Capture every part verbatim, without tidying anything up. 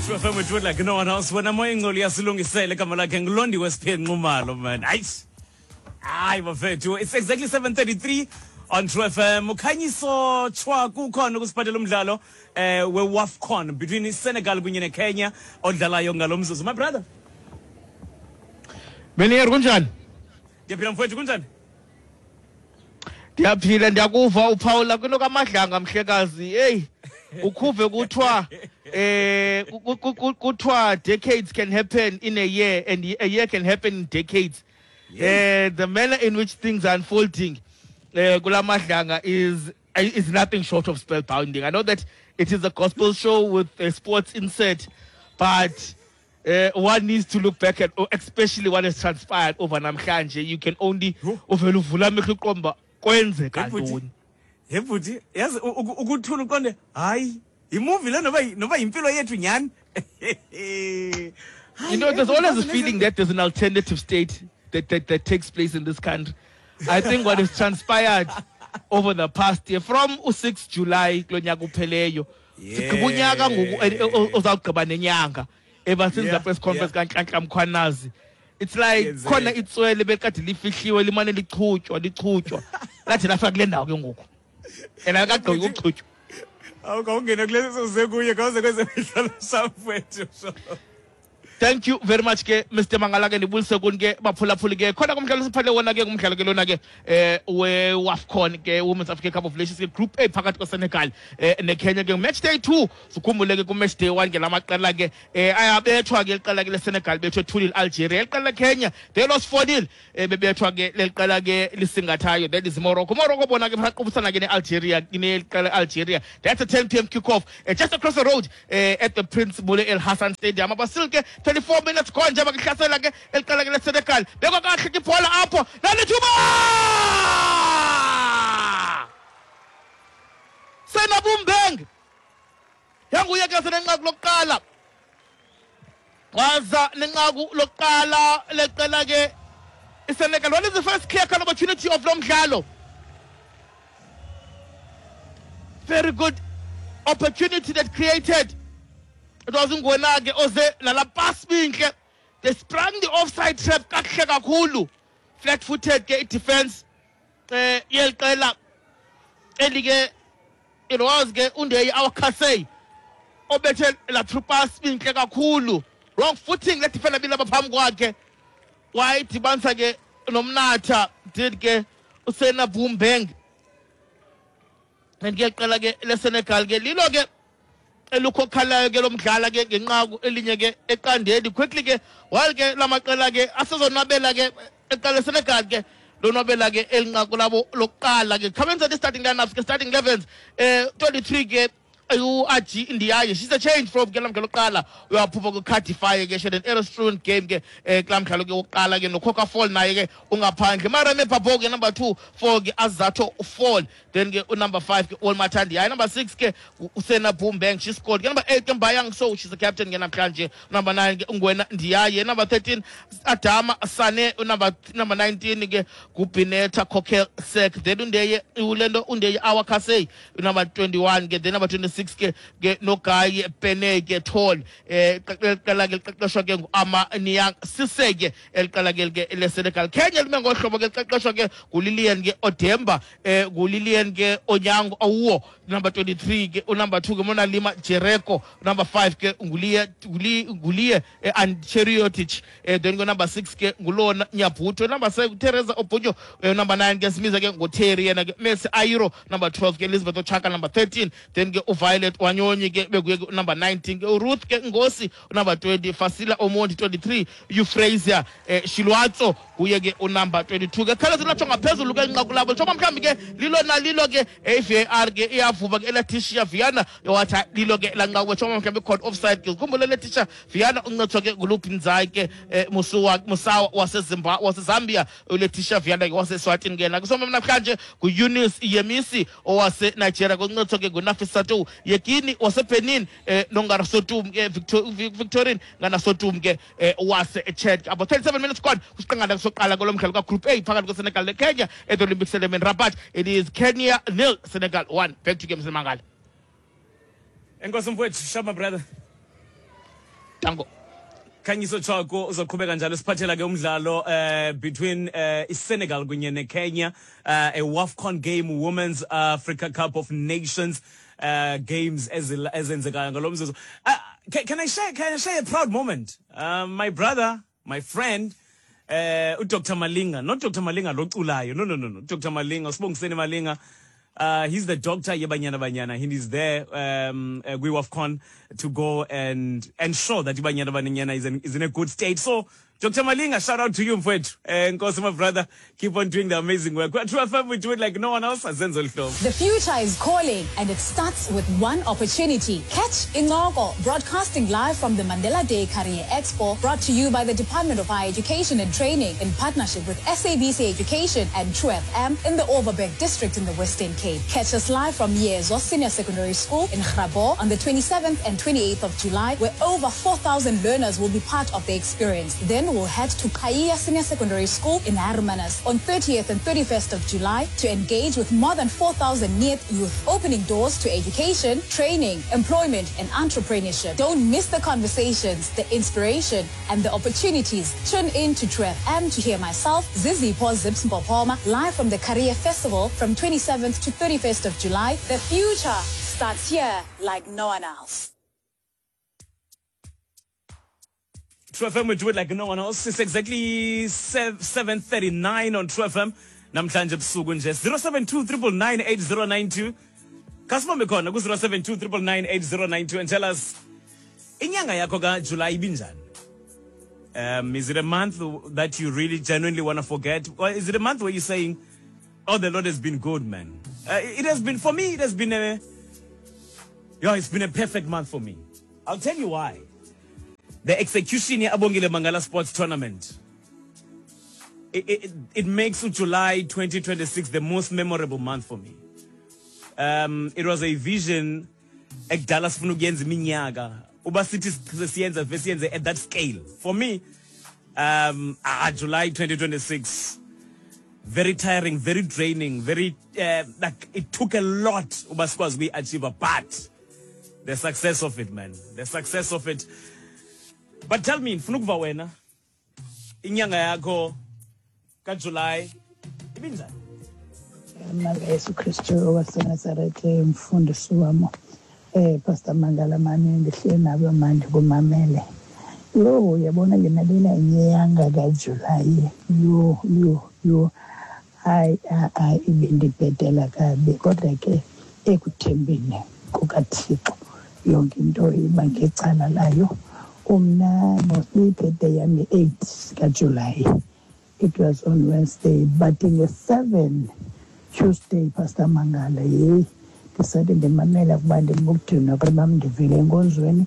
True F M with like no one else. Wena moya ingcoli yasilungisele igama lakhe nguLondiwe Siphe Nxumalo, man. Hayi. Hayi bafethu. It's exactly seven thirty-three on True F M. Ukhanyiso Chwa kukhona ukusiphathela umdlalo eh weWAFCON between Senegal kunye neKenya odlalayo ngalomzuzu. My brother. Benier kunjani? Ndiyaphila mfowethu, kunjani? Ndiyaphila, ndiyakuva uphawula kwinto kaMadlanga mhlekazi. Hey, ukhuve kuthiwa eh kuthiwa decades can happen in a year and a year can happen in decades. Eh the manner in which things are unfolding eh kula Madlanga is is nothing short of spellbinding. I know that it is a gospel show with a sports insert, but Uh, one needs to look back at, especially what has transpired over namhlanje. You can only uvela uvula amehlo uqomba kwenzeka ntoni. Hey bhuti, yazi ukuthula uqonde hayi imovie le noba noba impilo yethu nyani. You know, there's always a feeling that there's an alternative state that, that, that takes place in this country. I think what has transpired over the past year, from sixth July kulo nyaka upheleyo, sigqiba unyaka ngoku ozawugqiba nenyanga. Ever since yeah, the press conference, yeah. Mkhwanazi, it's like khona itswele bekade lifihliwe limane lichutywa lichutywa lathi lafika kule ndawo ke ngoku and akagqoki ukuchutywa. Awukawungena kulesi uze kuye kawuze kwezemidlalo samfethu. Thank you very much ke Mister Mangala ke ndibulise kuni ke baphulaphuli ke khona kumdlalo siphathe wona ke ngumdlalo ke lona ke eh weWAFCON ke Women's African Cup of Nations ke Group A phakathi kweSenegal eh neKenya ke match day two. Sikhumbule ke ku match day one ke lamaqela ke eh ayabethwa ke iqela ke leSenegal bethwe two nil Algeria, iqela leKenya they lost four nil eh bebethwa ke leliqela ke lisingathayo, that is Morocco. Morocco bona ke baqubisana ke neAlgeria ineqela Algeria. That's a ten p m kickoff eh, just across the road eh, at the Prince Moulay El Hassan Stadium. Abasil ke twenty-four minutes gone njengoba kuhlasela ke eliqala ke leSenegal. Bekwa kahle ke ibhola apho nalithuba Senabumbeng yanguye ke senenqaku lokuqala waza nenqaku lokuqala leqela ke iSenegal. What is the first clear cut opportunity of lo mdlalo? Very good opportunity that created. It was Ngwena ke oze nala pass binhle. They sprang the offside trap kakuhle kakhulu. Flat footed ke defense eh yeliqela elike it was ke uNdeye Awakase obethe la through pass binhle kakhulu. Wrong footing le defender bilapha phambi kwakhe. Wayidibanisa ke nomnatha did ke uSena Bumbeng. And ke qala ke leSenegal ke lilo ke elukhokhalayo ke lomdlala ke ngenqaku elinye ke eqandeni quickly ke while ke lamaqela ke asezonwabela ke eqala Senegal ke lonwabela ke elinqaku labo lokuqala ke khabenza the starting lineups ke starting elevens eh twenty-three ke uAji Ndiaye, she's a change from ke lamdlalo lokuqala uyaphupha ku Cardiff ke she an error-strewn game ke kulamdlalo ke wokuqala ke noCoca Fall naye ke ungaphandle. Marame Babo ke number two four ke Azato Fall, then ke number five ke Olmatandi, hayi number six ke uSena Bumbeng, she scored. Ke number eight ke Mbayang So, she's the captain ke namhlanje. Number nine ke Ngwena Ndiaye, number thirteen Adama Sane, number number nineteen ke Gubineta Kokel Sek, then Undeye Ulendo Undeye Awakase number twenty-one ke, then number twenty-six ke ke noGaye Pene ke Tall eh qala ke liqeqeshwa ke nguAma Niang Sise ke eliqala ke ke leSenegal. Kenya lime ngohlobo ke liqeqeshwa ke nguLilian ke Odemba eh nguLilian ke Onyango Awuo number twenty-three ke number two ke Mona Lima Jereko number five ke nguliye nguliye and Cheriotic eh then go number six ke ngulona Nyabuto number seven Teresa Obunyo number nine ke Simiza ke nguTerry yena ke Messi Airo number twelve ke Elizabeth Ochaka number thirteen then ke Violet Wanyonyi ke bekuye number nineteen ke Ruth ke Ngosi number twenty Fasila Omondi twenty-three Euphrasia eh, Shilwatso kuye ke number twenty-two ke khala silatsho ngaphezulu ke inqaku labo njengoba mhlawumbi ke lilo nalilo ke V A R ke iyavuba ke Letitia Viana wathi lilo ke lanqaku njengoba mhlawumbi caught offside ke khumbule Letitia Viana uncethwa ke nguLupinzai ke eh, Musuwa Musawa waseZimbabwe waseZambia uLetitia Viana ke waseSwatini ke nakusoma namhlanje nguEunice Yemisi owase Nigeria kuncethwa ke nguNafisatu Yekini waseBenin eh, nongarasotum ke Victor, Victorine nganasotum ke eh, wase Chad. About thirty-seven minutes gone kusiqangana soqala kolomdlalo ka Group A phakathi kweSenegal neKenya at the Olympic Stadium in Rabat. It is Kenya nil Senegal one. Back to games Mangala. Enkosi mfowethu, shama brother. Dango. Khanyiso Tshwaku uzoqhubeka njalo siphathela ke umdlalo uh, between uh, iSenegal kunye neKenya, uh, a WAFCON game, Women's Africa Cup of Nations uh, games ezenzekayo ngalo mzuzu. Uh, can, can I share can I share a proud moment? Uh, my brother, my friend, uh, Doctor Malinga, not Doctor Malinga loculayo, no no no no, Doctor Malinga, Sibongiseni Malinga. Uh, he's the doctor yeBanyana Banyana. He is there um, uh, kwi-WAFCON to go and ensure that Banyana Banyana is in, is in a good state. So, Doctor Malinga, shout out to you, mfowethu. Nkosi, my brother, keep on doing the amazing work. At True F M, we do it like no one else. Azenzo Lhlobo. The future is calling, and it starts with one opportunity. Catch Incoko, broadcasting live from the Mandela Day Career Expo, brought to you by the Department of Higher Education and Training in partnership with S A B C Education and True F M in the Overberg District in the Western Cape. Catch us live from Yezo Senior Secondary School in Grabouw on the twenty-seventh and twenty-eighth of July, where over four thousand learners will be part of the experience. Then we'll head to Kaya Senior Secondary School in Hermanus on thirtieth and thirty-first of July to engage with more than four thousand N E E T youth, opening doors to education, training, employment and entrepreneurship. Don't miss the conversations, the inspiration and the opportunities. Tune in to True F M to hear myself, Zizipho Zips Mpopoma, live from the Career Festival from twenty-seventh to thirty-first of July. The future starts here like no one else. True F M, we do it like no one else. It's exactly seven thirty-nine on True F M. Namhlanje ebusuku nje zero seven two triple nine eight zero nine two. Kasibambe khona ku zero seven two triple nine eight zero nine two and tell us inyanga yakho ka July ibinjani? Um, is it a month that you really genuinely want to forget? Or is it a month where you're saying, oh, the Lord has been good, man? Uh, it has been, for me, it has been a, yeah, it's been a perfect month for me. I'll tell you why. The execution here, Abongile Mangala Sports Tournament, it, it, it makes July twenty twenty-six the most memorable month for me. Um, it was a vision ekudala sifuna ukuyenza iminyaka uba sithi siyenza siyenze at that scale. For me, um, ah, July twenty twenty-six, very tiring, very draining, very, uh, like it took a lot uba sikwazi ukuyi-achieve, but the success of it, man, the success of it. But tell me, ndifuna ukuva wena, inyanga yakho kaJuly ibinjani? Yesu Kristu waseNazaretha, mfundisi wam, eh Pastor Mangala mani ndihleli nawe manje kumamele. Yo, uyabona ke nalena inyanga kaJuly. Yo yo yo, hayi hayi ibindibhedela kabi, kodwa ke ekuthembeni kukaThixo yonke into iba ngecala layo. Umna birthday yami eight kaJuly. It was on Wednesday, but in the seven Tuesday, Pastor Mangala, ye decided ndimamela kuba ndimukudinwa kuba ndivile enkonzweni,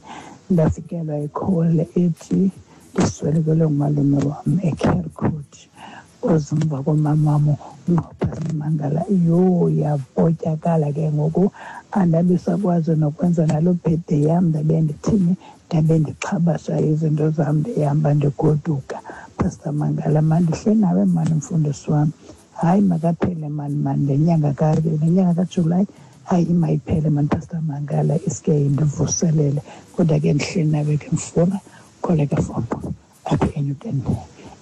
ndafikelwa i-call ethi ndiswelekelwe ngumalume wam eCarecourt ozimva komama wam uPastor Mangala. Yho, yapotyakala ke ngoku, andabisakwazi nokwenza naloo birthday yam. Ndabe ndithini, ndabe ndixhabasha izinto zam, ndihamba ndigoduka. Pastor Mangala, mandihle nawe mani mfundisi wam. Hayi makaphele mani mani le nyanga ka le nyanga kaJuly, hayi mayiphele mani Pastor Mangala, iske indivuselele. Kodwa ke ndihleli nawe ke mfuna kholeka fombo apha eNewton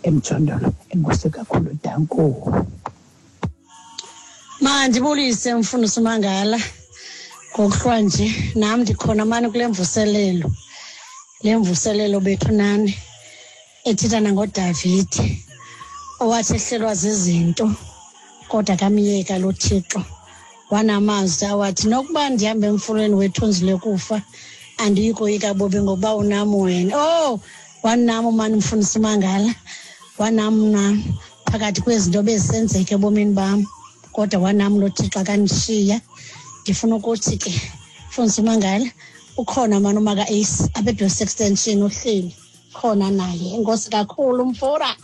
emjondolo. Enkosi kakhulu, danko. Mandibulise mfundisi Mangala ngokuhlwa nje, nam ndikhona mani kule mvuselelo, le mvuselelo bethu nani ethetha nangoDavide owathi ehlelwa zizinto kodwa kamyeka lo Thixo. Wanamazwi awathi nokuba ndihambe emfuleni wethunzi lekufa andiyikoyika bobe ngokuba unam wena. Oh, wanam mani mfundisi Mangala, wanam na phakathi kwezinto bezisenzeka ebomini bam, kodwa wanam lo Thixo akandishiya. Ndifuna ukuthi ke mfundisi Mangala ukhona mani umaka Ace apha extension uhleli khona naye. Enkosi kakhulu mfura.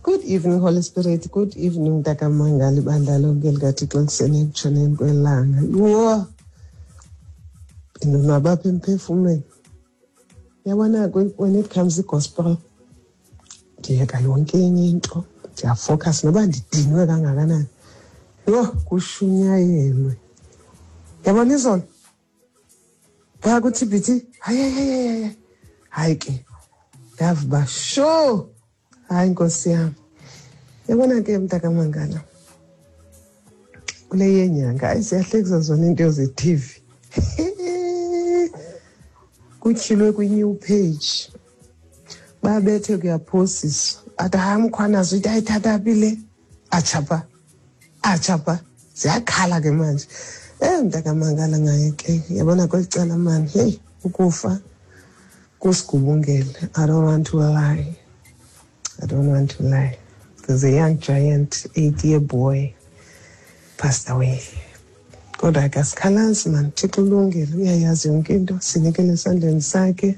Good evening, Holy Spirit. Good evening, Mntaka Mangala, ibandla lonke likaThixo elisenekutshoneni kwelanga. Yho, ndinonwaba apha emphefumlweni. Uyabona, when it comes to gospel, ndiyeka yonke enye into, ndiyafocus noba ndidinwe kangakanani. Yho, kushunyayelwe. Yabona izolo Phaa ku-T B T, hayi hayi hayi hayi. Hayi ke, ndava uba sho, hayi nkosi yam. Yabona ke mntakamangala, kule yenyanga, hayi ziyahlekisa zona iinto ze-T V. Kutyhilwe kwi-new page. Babethe kuyaphosiswa. Athi hayi mkhwanazi uthi ayithatha phi le? Atshapha, atshapha. Ziyakhala ke manje. Eh mntakamangala ngaye ke, yabona kweli cala mani, hey, ukufa kusigubungele. I don't want to lie. I don't want to lie. There's a young giant, eight-year boy, passed away. Kodwa ke asikhalazi man, Thixo ulungile, uyayazi yonke into, sinikele esandleni sakhe.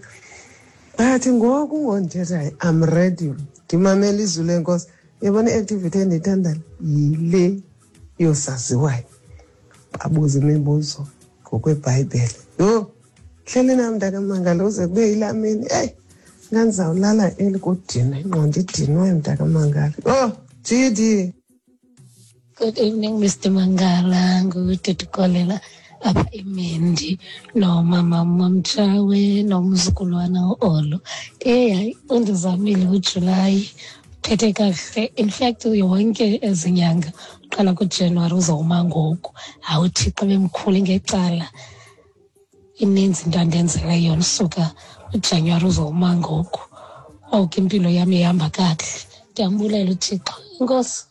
But ngoku ngondithethayo, I'm ready. Ndimamele izwi lenkosi. Yabona i-activity endiyithandayo yile yosaziwayo. Babuze imibuzo ngokweBhayibhile. Yho, hleli nam mntakamangala uze kube yilaa mini. Eyi, ngandizawulala eli kudinwa, ingqondo idinwe mntakamangala. Yho, G D. Good evening, Mister Mangala. Ngududukolela apha eMendi nomama Mamtshawe nomzukulwana uOlo. Eh, hayi, undizamile uJulayi. Phethe kakuhle. In fact, yonke ezinyanga uqala kuJanuwari uzawuma ngoku. Hawu, uThixo bemkhulu ngecala. Ininzi into andenzela yona usuka uJanuwari uzawuma ngoku. Oku impilo yam ihamba kakuhle. Ndiyambulela uThixo. Enkosi.